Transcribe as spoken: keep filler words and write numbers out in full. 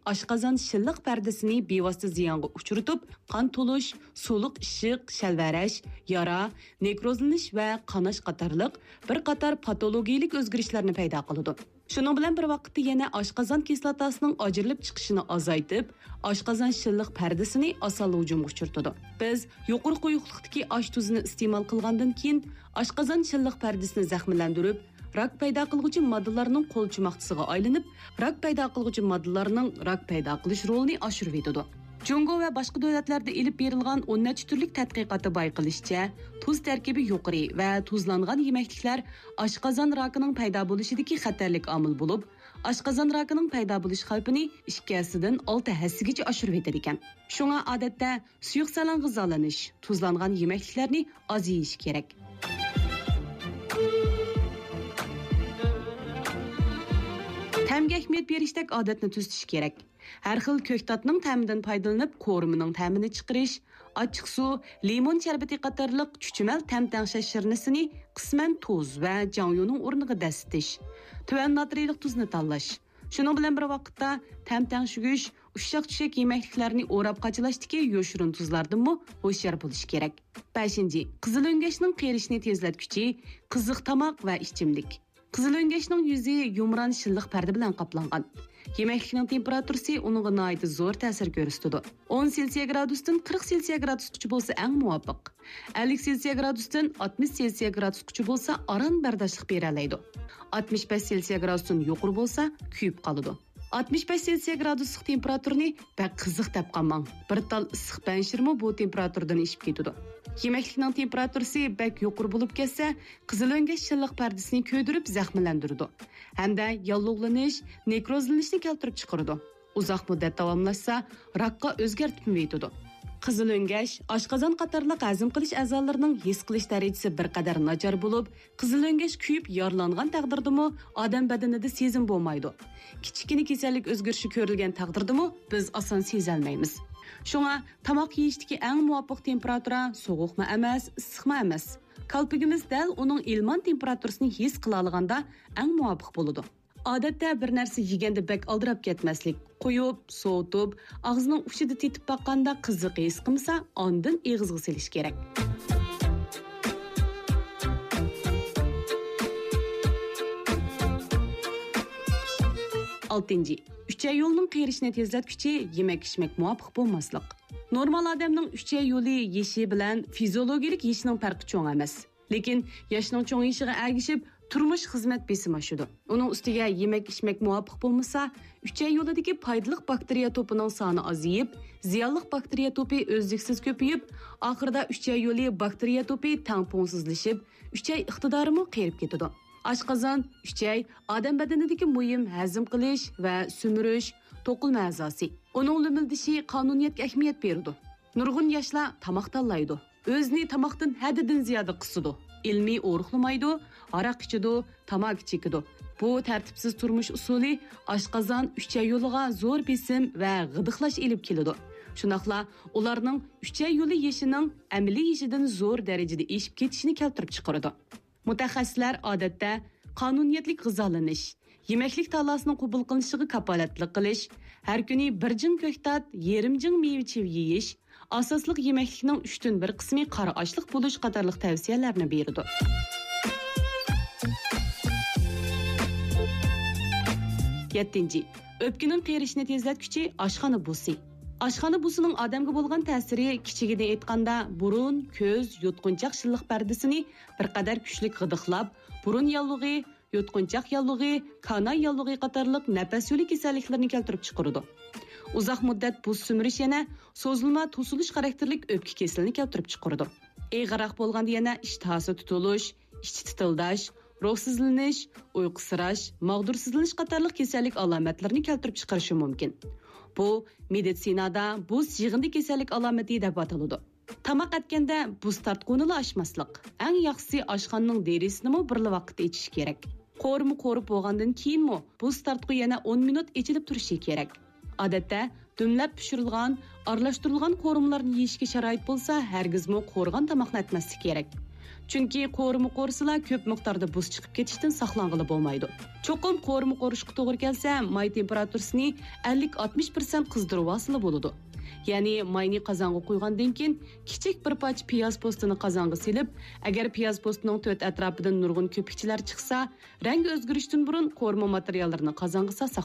ئاشقازان شىللىق پەردىسىنى بىۋاسىتە زىيانغا ئۇچرىتىپ، قان تولۇش، سۇلۇق ئىششىق، شەلۋەرەش، يارا، نېكروزلىنىش ۋە قاناش قاتارلىق بىر قاتار پاتولوگىيىلىك ئۆزگىرىشلەرنى پەيدا قىلىدۇ. شۇنىڭ بىلەن بىر ۋاقىتتا يەنە ئاشقازان كىسلاتاسىنىڭ ئاجرىلىپ چىقىشىنى ئازايتىپ، ئاشقازان شىللىق پەردىسىنى ئاسانلا ھۇجۇمغا ئۇچرىتىدۇ. بىز يۇقىرى قويۇقلۇقتىكى ئاش تۇزىنى ئىستېمال قىلغاندىن كېيىن، ئاشقازان شىللىق پەردىسىنى زەخىملەندۈرۈپ، راك پەيدا قىلغۇچى ماددىلارنىڭ قولچۇماقچىسىغا ئايلىنىپ، راك پەيدا قىلغۇچى ماددىلارنىڭ راك پەيدا قىلىش رولىنى ئاشۇرۇۋېتىدۇ. جۇڭگو ۋە باشقا دۆلەتلەردە ئېلىپ بېرىلغان ئون نەچچە تۈرلۈك تەتقىقاتتا بايقىلىشىچە، تۇز تەركىبى يۇقىرى ۋە تۇزلانغان يېمەكلىكلەر ئاشقازان راكىنىڭ پەيدا بولۇشىدىكى خەتەرلىك ئامىل بولۇپ، ئاشقازان راكىنىڭ پەيدا بولۇش خەۋپىنى ئىككى ھەسسىدىن ئالتە ھەسسىگىچە ئاشۇرۇۋېتىدىكەن. شۇڭا ئادەتتە سۇيۇق سەلەڭ غىزالىنىش، تۇزلانغان يېمەكلىكلەرنى ئاز يېيىش كېرەك. تەمگە ئەھمىيەت بېرىشتەك ئادەتنى تۈزىتىش كېرەك. ھەر خىل كۆكتاتنىڭ تەمىدىن پايدىلىنىپ، قورۇمىنىڭ تەمىنى چىقىرىش، ئاچچىق سۇ، لىمون شەربىتى قاتارلىق چۈچۈمەل تەم تەڭشەش شىرنىسىنى قىسمەن تۇز ۋە جاڭيۇنىڭ ئورنىغا دەسسىتىش، تۆۋەن ناترىيلىق تۇزنى تاللاش. شۇنىڭ بىلەن بىر ۋاقىتتا، تەم تەڭشىگۈچ، ئۇششاق-چۈشەك يېمەكلىكلەرنى ئوراپ قاچىلاشتىكى يوشۇرۇن تۇزلاردىنمۇ ھوشيار بولۇش كېرەك. بەشىنچى، قىزىل ئۆڭگەچنىڭ قېرىشىنى تېزلەتكۈچى، قىزىق تاماق ۋە ئىچىملىك. قىزىل ئۆڭگەچنىڭ يۈزى يۇمران شىللىق پەردە بىلەن قاپلانغان. يېمەكلىكنىڭ تېمپېراتۇرىسى ئۇنىڭغا ناھايىتى زور تەسىر كۆرسىتىدۇ. ئون سېلسىيە گرادۇستىن قىرىق سېلسىيە گرادۇسقىچە بولسا ئەڭ مۇۋاپىق. ئەللىك سېلسىيە گرادۇستىن ئاتمىش سېلسىيە گرادۇسقىچە بولسا ئاران بەرداشلىق بېرەلەيدۇ. ئاتمىش بەش سېلسىيە گرادۇستىن يۇقىرى بولسا كۆيۈپ قالىدۇ. ئاتمىش بەش سېلسىيە گرادۇسلۇق تېمپېراتۇرىنى بەك قىزىق دەپ قالماڭ. بىر تال ئىسسىق پەنجىرمۇ بۇ تېمپېراتۇردىن ئېشىپ كېتىدۇ. يېمەكلىكنىڭ تېمپېراتۇرىسى بەك يۇقىرى بولۇپ كەتسە، قىزىل ئۆڭگەچ شىللىق پەردىسىنى كۆيدۈرۈپ زەخىملەندۈرىدۇ ھەمدە ياللۇغلىنىش، نېكروزلىنىشنى كەلتۈرۈپ چىقىرىدۇ. ئۇزاق مۇددەت داۋاملاشسا، راكقا ئۆزگەرتىپمۇ يېتىدۇ. قىزىل ئۆڭگەچ، ئاشقازان قاتارلىق ھەزىم قىلىش ئەزالىرىنىڭ ھېس قىلىش دەرىجىسى بىر قەدەر ناچار بولۇپ، قىزىل ئۆڭگەچ كۆيۈپ يارىلانغان تەقدىردىمۇ ئادەم بەدىنىدە سېزىم بولمايدۇ. كىچىككىنە كېسەللىك ئۆزگىرىشى كۆرۈلگەن تەقدىردىمۇ بىز ئاسان سېزەلمەيمىز. شۇڭا تاماق يېيىشتىكى ئەڭ مۇۋاپىق تېمپېراتۇرا سوغۇقمۇ ئەمەس، ئىسسىقمۇ ئەمەس. كالپۇكىمىز دەل ئۇنىڭ ئىلمان تېمپېراتۇرىسىنى ھېس قىلالىغاندا ئەڭ مۇۋاپىق بولىدۇ. ئادەتتە بىر نەرسە يېگەندە بەك ئالدىراپ كەتمەسلىك، قويۇپ، سوۋۇتۇپ، ئاغزىنىڭ ئۇچىدا تېتىپ باققاندا قىزىق ھېس قىلمىسا، ئاندىن ئېغىزغا سېلىش كېرەك. ئالتىنچى، ئۈچەي يولىنىڭ قېرىشىنى تېزلەتكۈچى يېمەك-ئىچمەك مۇۋاپىق بولماسلىق. نورمال ئادەمنىڭ ئۈچەي يولى يېشى بىلەن فىزىيولوگىيەلىك يېشىنىڭ پەرقى چوڭ ئەمەس. لېكىن ياشنىڭ چوڭىيىشىغا ئەگىشىپ، تۇرمۇش، خىزمەت بېسىمى ئاشىدۇ. ئۇنىڭ ئۈستىگە يېمەك-ئىچمەك مۇۋاپىق بولمىسا، ئۈچەي يولىدىكى پايدىلىق باكتېرىيە توپىنىڭ سانى ئازىيىپ، زىيانلىق باكتېرىيە توپى ئۈزلۈكسىز كۆپىيىپ، ئاخىرىدا ئۈچەي يولى باكتېرىيە توپى تەڭپۇڭسىزلىشىپ، ئۈچەي ئىقتىدارىمۇ قېرىپ كېتىدۇ. ئاشقازان، ئۈچەي ئادەم بەدىنىدىكى مۇھىم ھەزىم قىلىش ۋە سۈمۈرۈش، توقۇلما ئەزاسى. ئۇنىڭ لۈمۈلدىشى قانۇنىيەتكە ئەھمىيەت بېرىدۇ. نۇرغۇن ياشلار تاماق تاللايدۇ. ئۆزىنى تاماقتىن ھەددىدىن زىيادە قىسىدۇ. ئىلمىي ئورۇقلىمايدۇ، ھاراق ئىچىدۇ، تاماكا چېكىدۇ. بۇ تەرتىپسىز تۇرمۇش ئۇسۇلى ئاشقازان، ئۈچەي يولىغا زور بېسىم ۋە غىدىقلاش ئېلىپ كېلىدۇ. شۇنداقلا ئۇلارنىڭ ئۈچەي يولى يېشىنىڭ ئەمەلىي يېشىدىن زور دەرىجىدە ئېشىپ كېتىشىنى كەلتۈرۈپ چىقىرىدۇ. مۇتەخەسسىسلەر ئادەتتە قانۇنىيەتلىك غىزالىنىش، يېمەكلىك تاللاسىنىڭ قوبۇل قىلىنىشىغا كاپالەتلىك قىلىش، ھەر كۈنى بىر جىڭ كۆكتات، يېرىم جىڭ مېۋە-چىۋە يېيىش، ئاساسلىق يېمەكلىكنىڭ ئۈچتىن بىر قىسمى قارا ئاشلىق بولۇش قاتارلىق تەۋسىيەلەرنى بېرىدۇ. يەتتىنچى، ئۆپكىنىڭ قېرىشىنى تېزلەتكۈچى ئاشخانا بۇسى. ئاشخانا بۇسىنىڭ ئادەمگە بولغان تەسىرى، كىچىكىدىن ئېيتقاندا، بۇرۇن، كۆز، يۇتقۇنچاق شىللىق پەردىسىنى بىر قەدەر كۈچلۈك غىدىقلاپ، بۇرۇن ياللۇغى، يۇتقۇنچاق ياللۇغى، كاناي ياللۇغى قاتارلىق نەپەس يولى كېسەللىكلىرىنى كەلتۈرۈپ چىقىرىدۇ. ئۇزاق مۇددەت بۇس سۈمۈرۈش يەنە سوزۇلما توسۇلۇش خاراكتېرلىك ئۆپكە كېسىلىنى كەلتۈرۈپ چىقىرىدۇ. ئېغىرراق بولغاندا يەنە ئىشتىھاسى تۇتۇلۇش، ئىچى تىتىلداش، روھسىزلىنىش، ئۇيقۇسىراش، ماغدۇرسىزلىنىش قاتارلىق كېسەللىك ئالامەتلىرىنى كەلتۈرۈپ چىقىرىشى مۇمكىن. بۇ مېدىتسىنادا بۇس يىغىندى كېسەللىك ئالامىتى دەپ ئاتىلىدۇ. تاماق ئەتكەندە بۇس تارتقۇنىلا ئاچماسلىق. ئەڭ ياخشىسى ئاشخانىنىڭ دېرىزىسىنىمۇ بىرلا ۋاقىتتا ئېچىش كېرەك. قورۇما قورۇپ بولغاندىن كېيىنمۇ بۇس تارتقۇ يەنە ئون مىنۇت ئېچىلىپ تۇرۇشى كېرەك. ئادەتتە دۈملەپ پىشۇرۇلغان، ئارىلاشتۇرۇلغان قورۇمىلارنى يېيىشكە شارائىت بولسا، ھەرگىزمۇ قورۇغان تاماقنى ئەتمەسلىك كېرەك. چۈنكى قورۇما قورۇسىلا كۆپ مىقداردا بۇس چىقىپ كېتىشتىن ساقلانغىلى بولمايدۇ. چوقۇم قورۇما قورۇشقا توغرا كەلسە، ماي تېمپېراتۇرىسىنى ئەللىك ئاتمىش پىرسەنت قىزدۇرۇۋالسىلا بولىدۇ. يەنى ماينى قازانغا قۇيغاندىن كېيىن، كىچىك بىر پارچە پىياز پوستىنى قازانغا سېلىپ، ئەگەر پىياز پوستىنىڭ تۆت ئەتراپىدىن نۇرغۇن كۆپۈكچىلەر چىقسا، رەڭگى ئۆزگىرىشتىن بۇرۇن قورۇما ماتېرىياللىرىنى قازانغا سالساق